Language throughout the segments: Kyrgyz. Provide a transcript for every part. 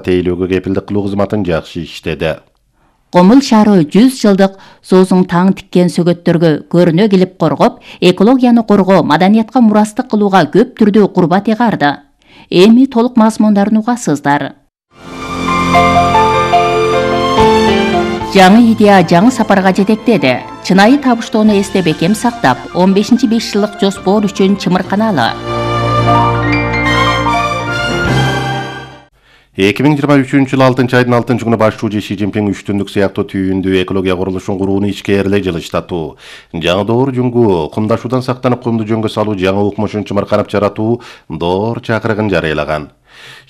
тейлөөгө кепилдик кылуу кызматын жакшы иштеди. Комул шаары 100 жылдык соосуң таң тиккен сөгөттөргө көрүнө келип коргоп, экологияны коргоо, маданиятка мурастык кылууга көп түрдүү курбат ыгарды. Эми толук мазмундарын угасыздар. Жаңы идея жаңы сапарга жетектеди. Чынайы табыштоону эсте бекем сактап, 15-5 жылдык жоспор үчүн чымырканалы. 2023-жылы 6-айдын 6-күнү башчы Ши Цзиньпин 3 түндүк сыяктуу түйүндүү экология курулушун курууну ичкээрлей жылыштатуу, жаңы доор жөнгө кумдашуудан сактанып кумду жөнгө салуу жаңы укмушун чымырканып жаратуу доор чакырыгын жарыялаган.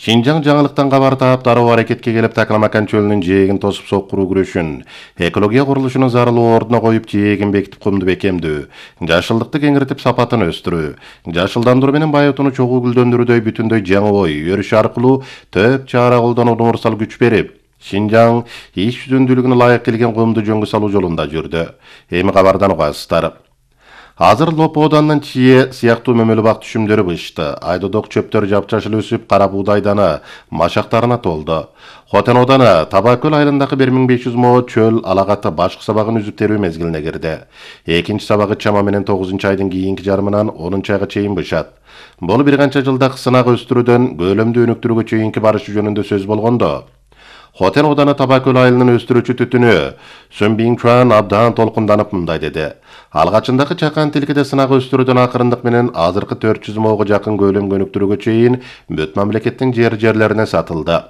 Шинжаң жаңылыктан кабар таап дароо аракетке келип Такламакан чөлүнүн жээгин тосуп соккуруу күрөшүн, экология курулушунун зарылуу ордуна коюп жээгин бекитип кумду бекемдөө, жашылдыкты кеңиртип сапатын өстүрүү, жашылдандыруу менен байытууну чогуу гүлдөндүрүүдөй бүтүндөй жаңы ой, өрүш аркылуу төп чара колдонууга умурсал күч берип, Шинжаң иш жүзүндүүлүгүнө ылайык келген кумду жөнгө салуу жолунда жүрдү. Эми кабардан угасыздар. Азыр Лопо оданынан чие сыяктуу мөмөлүү бак түшүмдөрү бышты. Айдодок чөптөр жапчашыл өсүп, кара буудай дана машактарына толду. Хотен оданы Табакөл айылындагы 1500 мо чөл алагаты башкы сабагын үзүп терүү мезгилине кирди. Экинчи сабагы чама менен 9-айдын кийинки жарымынан 10-айга чейин бышат. Бул бир канча жылдак сынак өстүрүүдөн көлөмдү өнүктүрүүгө чейинки барышы жөнүндө сөз болгондо, Хотен оданы Табакөл айылынын өстүрүүчү түтүнү Sun Bingchuan абдан толкунданып мындай деди. Алгачындагы чакан тилкеде сынак өстүрүүдөн акырындык менен азыркы 400 моого жакын көлөм өнүктүрүүгө чейин бүт мамлекеттин жерлерине сатылды.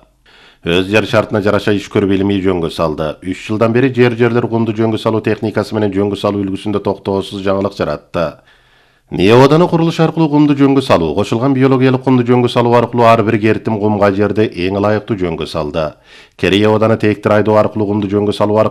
Өз жер шартына жараша иш көрүп илимий жөнгө салды. 3 жылдан бери жерлер кумду жөнгө салуу техникасы менен жөнгө салуу үлгүсүндө токтоосуз жаңылык жаратты. Неоданы курулуш аркылуу кумду жөнгө салуу, кошулган биологиялык кумду жөнгө салуу аркылуу ар бир кертим кумга жерде эң ылайыктуу жөнгө салды. Керей оданы тээктир айдоо аркылуу кумду жөнгө салуу